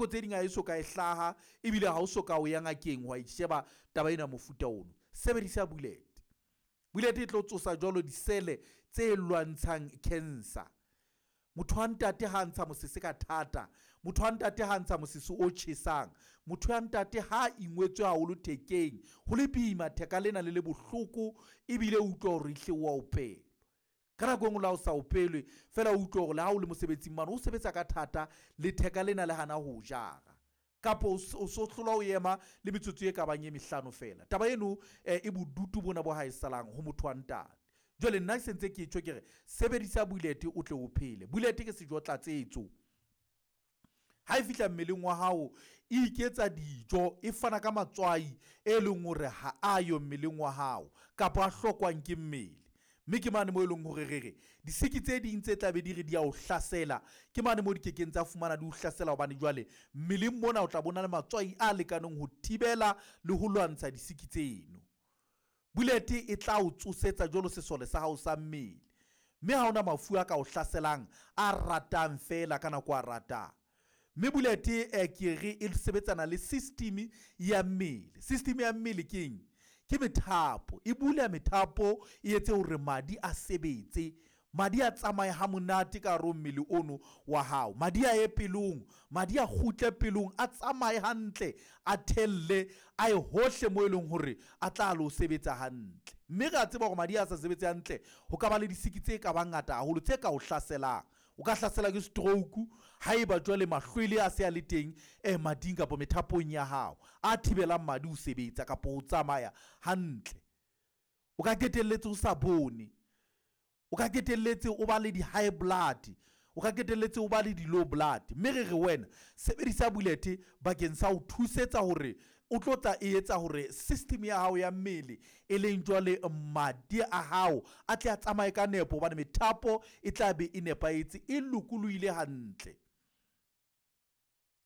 nako tse ding ha e so ka e hlaha, ebile ha o so ka o ya ngakeng wa e sheba taba ena mofuta ono. Sebedisa bullet. Bullet e tlo tsosa jwalo disele tse lwantshang cancer. Motho wa ntate ha ntsha mosese ka thata, motho wa ntate ha ntsha mosese o tjhesang, motho wa ntate ha ingwetswe haholo thekeng, ho le boima theka lena le le bohloko, ebile o utlwa hore ehle o a opelwa. Ka nako e nngwe le ha o sa opelwe fela, o utlwa hore le ha o le mosebetsing mane o sebetsa ka thata, letheka lena le hana ho jara, kapa o so hlola o ema le metsotso e ka bang e mehlano fela. Taba eno e bodutu bona bo ha e salang ho motho wa ntate. Jwale nna ke sentse ke tjho ke re sebedisa bullet o tle o phele. Bullet ke sejo tlatsetso. Ha e fihla mmeleng wa hao e iketsa dijo, e fana ka matswai e leng hore ha ayo mmeleng wa hao kapa a hlokwang ke mmele. Mme ke mane mo e leng hore re re disiki tse ding tse tla be di re di a o hlasela, ke mane mo di kekeng tsa fumana di o hlasela, hobane jwale mmeleng mona o tla bona le matswai a lekaneng ho thibela le ho lwantsha disiki tseno. Bullet e tla o tsosetsa jwalo sesole sa hao sa mmele, mme ha hona mafu a ka o hlaselang a ratang fela ka nako a ratang. Mme bullet ke re e sebetsana le system ya mmele. System ya mmele ke eng? Ke methapo. E bula methapo, e etse hore madi a sebetse, madi a tsamaye ha monate ka hare ho mmele ono wa hao. Madi a ye pelong, madi a kgutle pelong, a tsamaye hantle, a thelle, a ye hohle mo e leng hore a tla lo sebetsa hantle. Mme re a tseba hore madi a sa sebetse hantle, ho ka ba le disiki tse ka bang ngata haholo tse ka o hlaselang. O ka hlasela ke stroke haeba jwale mahlwele a se a le teng mading kapa methapong ya hao a thibelang madi ho sebetsa kapa ho tsamaya hantle. O ka qetelletse o sa bone, o ka qetelletse o ba le di-high blood, o ka qetelletse o ba le di-low blood. Mme re re wena sebedisa bullet bakeng sa ho thusetsa hore o tlo tla e etsa hore system ya hao ya mmele e leng jwale madi a hao a tle a tsamaye ka nepo, hobane methapo e tla be e nepahetse, e lokolohile hantle.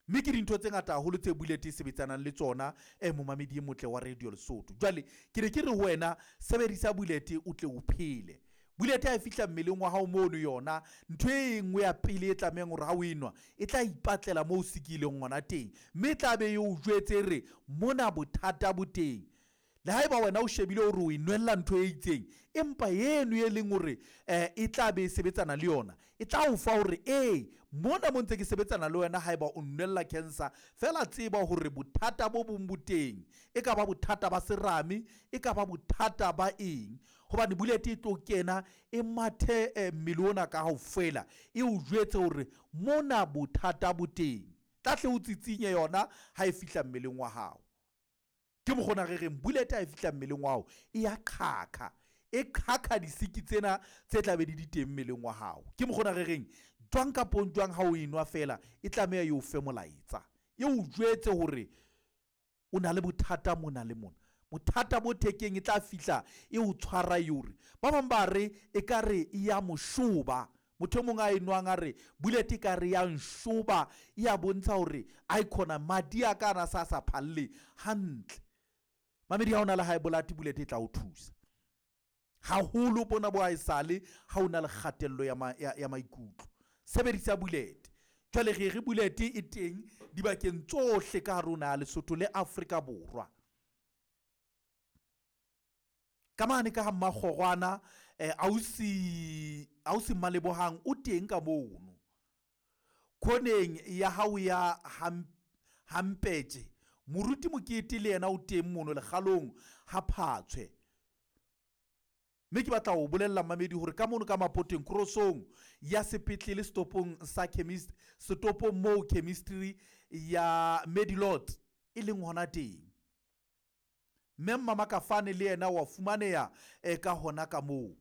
Mme ke dintho tse ngata haholo tse bullet e sebetsanang le tsona, momamedi e motle wa Radio Lesotho. Jwale ke ne ke re ho wena sebedisa bullet o tle o phele. Bullet ha e fihla mmeleng wa hao mono, yona ntho e nngwe ya pele e tlamehang hore ha o enwa e tla ipatlela moo o sikileng hona teng, mme e tla be e o jwetse re mona bothata bo teng. Le haeba wena o shebile hore o e nwella ntho e itseng, empa eno e leng hore e tla be e sebetsana le yona, e tla o fa hore ee mona mo ntse ke sebetsana le wena haeba o nwella cancer, fela tseba hore bothata bo bong bo teng. E ka ba bothata ba serame, e ka ba bothata ba eng, hobane bullet e tlo kena e mathe mmele ona ka kaofela, e o jwetse hore mona bothata bo teng. Tla hle o tsitsinye yona ha e fihla mmeleng wa hao. Ke mokgona re reng bullet ha e fihla mmeleng wa hao e ya qhaqha, e qhaqha disiki tsena tse tla be di di teng mmeleng wa hao. Ke mokgona re reng jwang kapo jwang ha o enwa fela e tlameha e o fe molaetsa, e o jwetse hore o na le bothata mona le mona. Bothata bo thekeng e tla fihla e o tshwara e hore ba bang ba re e ka re e ya moshoba. Motho e mong a enwang a re bullet e ka re ya nshoba, e ya bontsha hore a ikhona madi a ka ana sa sa phalle hantle. Mamedi, ha o na le high blood, bullet e tla o thusa haholo bona bo haesale ha o na le kgatello ya maikutlo. Sebedisa bullet. Jwale re re bullet e teng dibakeng tsohle ka hare ho naha Lesotho le Afrika Borwa. Ka mane ka ha Mmakgorwana, ausi Mmalebohang o teng ka mono. Khoneng ya hao ya Hampetje, Moruti Mokete le yena o teng mono lekgalong ha Phatshwe. Mme ke batla ho bolella mamedi hore ka mono ka Mapoteng krosong ya sepetlele setopong sa chemist, setopong moo chemistry ya Medilot e leng hona teng. Mme Mmamakafane le yena wa fumaneha ka hona ka moo.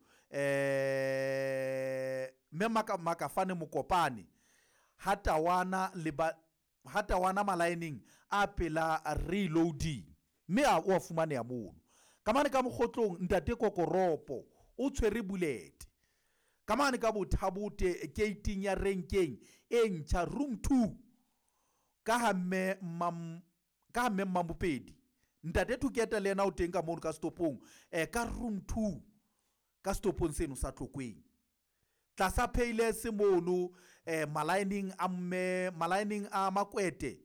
Mme Makafane Mokopane ha Tawana le ba ha Tawana malaeneng a pela reloading, mme a o fumaneha mono. Ka mane ka Mokgotlong ntate Kokoropo o tshwere bullet. Ka mane ka Bothabote gating ya renkeng e ntjha room 2 ka ha mme mam ka ha mme Mmamopedi. Ntate Thuketa le yena o teng ka mono ka stopong ka room 2 ka stopong seno sa Tlokweng. Tlasa Payless mono malaeneng a mme malaeneng a Makwete.